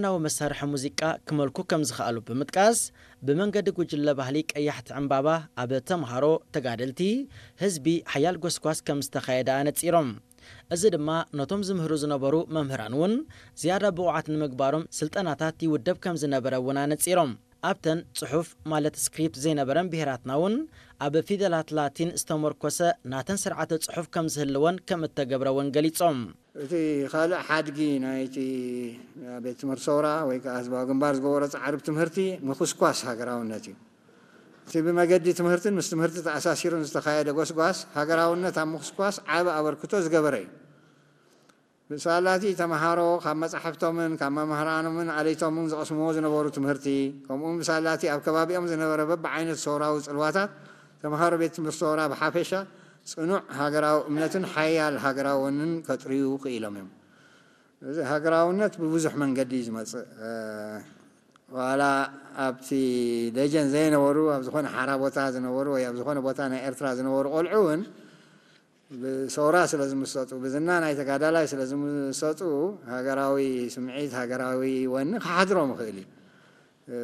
ናዊ መሳርሒ ሙዚቃ ክመልኩ ከም ዝኸኣሉ ብምጥቃስ፣ ብመንገዲ ጉጅለ ባህሊ ቀያሕቲ ዕምባባ ኣብ ተምሃሮ፣ ተጋደልቲ፣ ህዝቢ ሓያል ጎስጓስ ከም ዝተኻየደ ኣነጺሮም። እዚ ድማ ነቶም ዝምህሩ ዝነበሩ መምህራን እውን ዝያዳ ብቑዓት ንምግባሮም ስልጠናታት ይውደብ ከም ዝነበረ እውን ኣነጺሮም። ኣብተን ጽሑፍ ማለት ስክሪፕት ዘይነበረን ብሄራትና እውን ኣብ ፊደላት ላቲን ዝተመርኮሰ ናተን ስርዓተ ጽሑፍ ከም ዝህልወን ከም እተገብረ እውን ገሊጾም። እቲ ካልእ ሓድጊ ናይቲ ቤት ትምህርቲ ሰውራ ወይ ከዓ ህዝባዊ ግንባር ዝገበሮ ጻዕሪ ብትምህርቲ ምኹስኳስ ሃገራውነት እዩ። እቲ ብመገዲ ትምህርትን ምስ ትምህርቲ ተኣሳሲሩን ዝተኻየደ ጎስጓስ ሃገራውነት ኣብ ምኹስኳስ ዓቢ ኣበርክቶ ዝገበረ እዩ። ብሳላቲ ተምሃሮ ካብ መጻሕፍቶምን ካብ መምህራኖምን ኣለይቶምን ዝቐስምዎ ዝነበሩ ትምህርቲ፣ ከምኡውን ብሳላቲ ኣብ ከባቢኦም ዝነበረ በብዓይነት ሰውራዊ ጽልዋታት፣ ተምሃሮ ቤት ትምህርቲ ሰውራ ብሓፈሻ ጽኑዕ ሃገራዊ እምነትን ሓያል ሃገራዊ ወንን ከጥርዩ ክኢሎም እዮም። እዚ ሃገራውነት ብብዙሕ መንገዲ እዩ ዝመጽእ። እ፣ ዋላ ኣብቲ ደጀን ዘይነበሩ፣ ኣብ ዝኾነ ሓራ ቦታ ዝነበሩ ወይ ኣብ ዝኾነ ቦታ ናይ ኤርትራ ዝነበሩ ቆልዑ እውን ብሰውራ ስለ ዝምሰጡ፣ ብዝና ናይ ተጋዳላይ ስለ ዝምሰጡ፣ ሃገራዊ ስምዒት፣ ሃገራዊ ወኒ ክሓድሮም ይኽእል እዩ። እ፣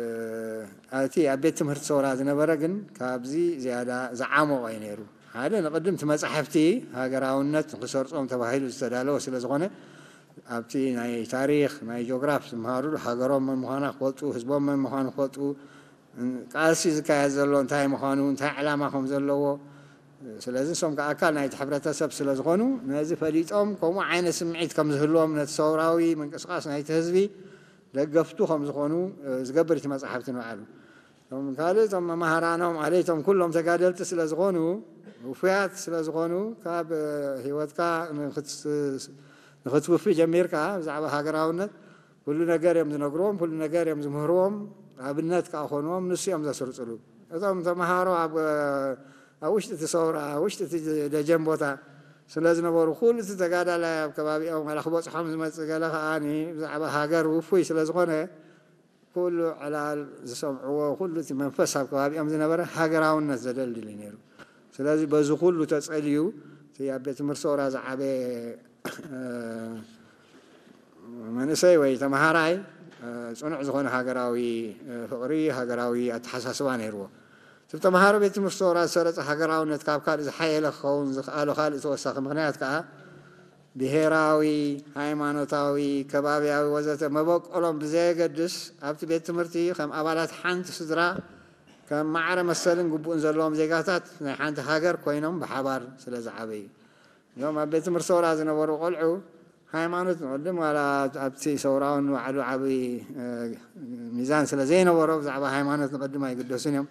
እቲ ኣብ ቤት ትምህርቲ ሰውራ ዝነበረ ግን ካብዚ ዝያዳ ዝዓሞቐ እዩ ነይሩ። ሓደ ንቕድም እቲ መጻሕፍቲ ሃገራውነት ንክሰርጾም ተባሂሉ ዝተዳለወ ስለ ዝኾነ፣ ኣብቲ ናይ ታሪኽ፣ ናይ ጂኦግራፍ ዝመሃሩሉ ሃገሮም መን ምዃና ክፈልጡ፣ ህዝቦም መን ምዃኑ ክፈልጡ፣ ቃልሲ ዝካየድ ዘሎ እንታይ ምዃኑ፣ እንታይ ዕላማ ከም ዘለዎ፣ ስለዚ ንሶም ከኣ ኣካል ናይቲ ሕብረተሰብ ስለ ዝኾኑ፣ ነዚ ፈሊጦም ከምኡ ዓይነት ስምዒት ከም ዝህልዎም ነቲ ሰውራዊ ምንቅስቓስ ናይቲ ህዝቢ ደገፍቱ ከም ዝኾኑ፣ እ፣ ዝገብር እቲ መጽሓፍቲ ንባዕሉ። እቶም ካልእ እቶም መማህራኖም ኣለይቶም ኩሎም ተጋደልቲ ስለ ዝኾኑ፣ ውፉያት ስለ ዝኾኑ፣ ካብ፣ እ፣ ህይወትካ ንኽትስ-፣ ንኽትውፊ ጀሚርካ ብዛዕባ ሃገራውነት ኩሉ ነገር እዮም ዝነግርዎም፣ ኩሉ ነገር እዮም ዝምህርዎም፣ ኣብነት ከኣ ኮንዎም፣ ንሱ እዮም ዘስርጽሉ። እቶም ተምሃሮ ኣብ፣ ኣብ ውሽጢ እቲ ሰውራ፣ ኣብ ውሽጢ እቲ ደጀን ቦታ ስለ ዝነበሩ፣ ኩሉ እቲ ተጋዳላይ ኣብ ከባቢኦም ዋላ ክበጽሖም ዝመጽእ ገለ ከኣ ብዛዕባ ሃገር ውፉይ ስለ ዝኾነ፣ ኩሉ ዕላል ዝሰምዕዎ፣ ኩሉ እቲ መንፈስ ኣብ ከባቢኦም ዝነበረ ሃገራውነት ዘደልድል እዩ ነይሩ። ስለዚ በዚ ኩሉ ተጸልዩ፣ እቲ ኣብ ቤት ትምህርቲ ሰውራ ዝዓበየ፣ እ፣ መንእሰይ ወይ ተምሃራይ፣ እ፣ ጽኑዕ ዝኾነ ሃገራዊ፣ እ፣ ፍቕሪ፣ ሃገራዊ ኣተሓሳስባ ነይርዎ። እቲ ተምሃሮ ቤት ትምህርቲ ሰውራ ዝሰረጸ ሃገራውነት ካብ ካልእ ዝሓየለ ክኸውን ዝኸኣሎ ካልእ ተወሳኺ ምኽንያት ከኣ፣ ብሄራዊ፣ ሃይማኖታዊ፣ ከባብያዊ ወዘተ መበቆሎም ብዘየገድስ፣ ኣብቲ ቤት ትምህርቲ ከም ኣባላት ሓንቲ ስድራ፣ ከም ማዕረ መሰልን ግቡእን ዘለዎም ዜጋታት ናይ ሓንቲ ሃገር ኮይኖም ብሓባር ስለ ዝዓበዩ። እዞም ኣብ ቤት ትምህርቲ ሰውራ ዝነበሩ ቆልዑ፣ ሃይማኖት ንቕድም፣ ዋላ ኣብቲ ሰውራውን ባዕሉ ዓቢ፣ እ፣ ሚዛን ስለ ዘይነበሮ፣ ብዛዕባ ሃይማኖት ንቕድም ኣይግደሱን እዮም።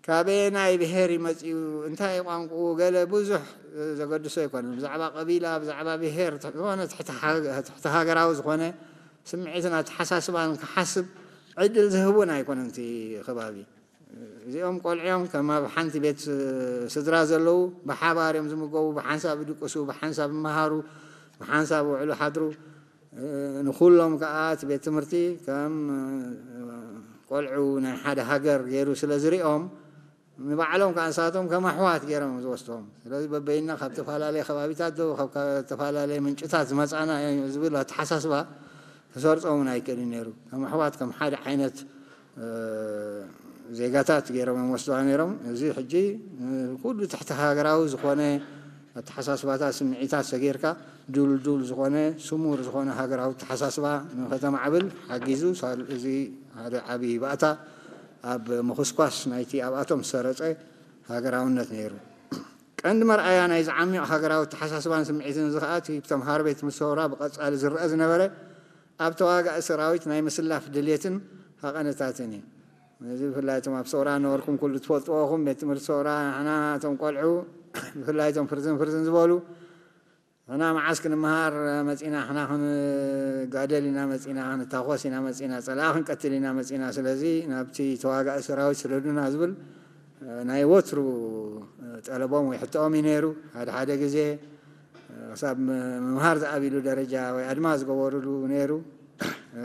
ካበየናይ ብሄር እዩ መጺኡ፣ እንታይ ቋንቋኡ፣ ገለ ብዙሕ፣ እ፣ ዘገድሶ ኣይኮነን። ብዛዕባ ቀቢላ፣ ብዛዕባ ብሄር፣ ትሕ-፣ ዝኾነ ትሕቲ ሃገ-፣ ትሕቲ ሃገራዊ ዝኾነ ስምዒትን ኣተሓሳስባን ክሓስብ ዕድል ዝህብ እውን ኣይኮነን እቲ ከባቢ። እዚኦም ቆልዑ እዮም ከም ኣብ ሓንቲ ቤት፣ እ፣ ስድራ ዘለዉ፣ ብሓባር እዮም ዝምገቡ፣ ብሓንሳብ ይድቅሱ፣ ብሓንሳብ ይመሃሩ፣ ብሓንሳብ ይውዕሉ ሓድሩ። እ፣ ንኹሎም ከኣ እቲ ቤት ትምህርቲ ከም፣ እ፣ ቆልዑ ናይ ሓደ ሃገር ገይሩ ስለ ዝሪኦም፣ ንባዕሎም ከኣ ንሳቶም ከም ኣሕዋት ገይሮም እዮም ዝወስድዎም። ስለዚ በበይንና ካብ ተፈላለየ ከባቢታት ዶ ካብ፣ ካብ ዝተፈላለየ ምንጭታት ዝመጻና እዮም ዝብል ኣተሓሳስባ ክሰርጾም እውን ኣይክእልን ነይሩ። ከም ኣሕዋት፣ ከም ሓደ ዓይነት፣ እ፣ ዜጋታት ገይሮም እዮም ወስድዋ ነይሮም። እዚ ሕጂ፣ እ፣ ኩሉ ትሕቲ ሃገራዊ ዝኾነ ኣተሓሳስባታት፣ ስምዒታት ሰጊርካ፣ ድልዱል ዝኾነ፣ ስሙር ዝኾነ ሃገራዊ ኣተሓሳስባ ንኸተማዕብል ሓጊዙ። ሳል-፣ እዚ ሓደ ዓቢ ባእታ ኣብ ምኹስኳስ ናይቲ ኣብኣቶም ዝሰረጸ ሃገራውነት ነይሩ። ቀንዲ መርኣያ ናይዚ ዓሚቕ ሃገራዊ ኣተሓሳስባን ስምዒትን እዚ ኸኣ እቲ ብተምሃሮ ቤት ትምህርቲ ሰውራ ብቐጻሊ ዝረኣ ዝነበረ ኣብ ተዋጋኢ ሰራዊት ናይ ምስላፍ ድሌትን ሃቐነታትን እዩ። እዚ ብፍላይ እቶም ኣብ ሰውራ ነበርኩም ኩሉ ትፈልጥዎ ኢኹም። ቤት ትምህርቲ ሰውራ ንሕና እቶም ቆልዑ ብፍላይ እቶም ፍርዝን ፍርዝን ዝበሉ ንሕና መዓስ ክንመሃር መጺና፣ ንሕና ክንጋደል ኢና መጺና፣ ክንታኾስ ኢና መጺና፣ ጸላኢ ክንቀትል ኢና መጺና፣ ስለዚ ናብቲ ተዋጋኢ ሰራዊት ስደዱና ዝብል፣ እ፣ ናይ ወትሩ፣ እ፣ ጠለቦም ወይ ሕቶኦም እዩ ነይሩ። ሓደ ሓደ ግዜ፣ እ፣ ክሳብ ም-፣ ምምሃር ዝኣቢሉ ደረጃ ወይ ኣድማ ዝገበሩሉ ነይሩ። እ፣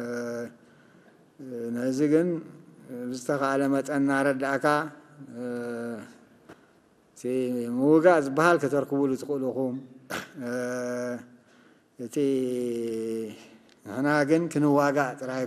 ነዚ ግን ብዝተኻእለ መጠን እናረዳእካ፣ እ፣ እቲ ምውጋእ ዝበሃል ከተርክቡሉ ትኽእሉ ኢኹም። እ፣ እቲ ንሕና ግን ክንዋጋእ ጥራይ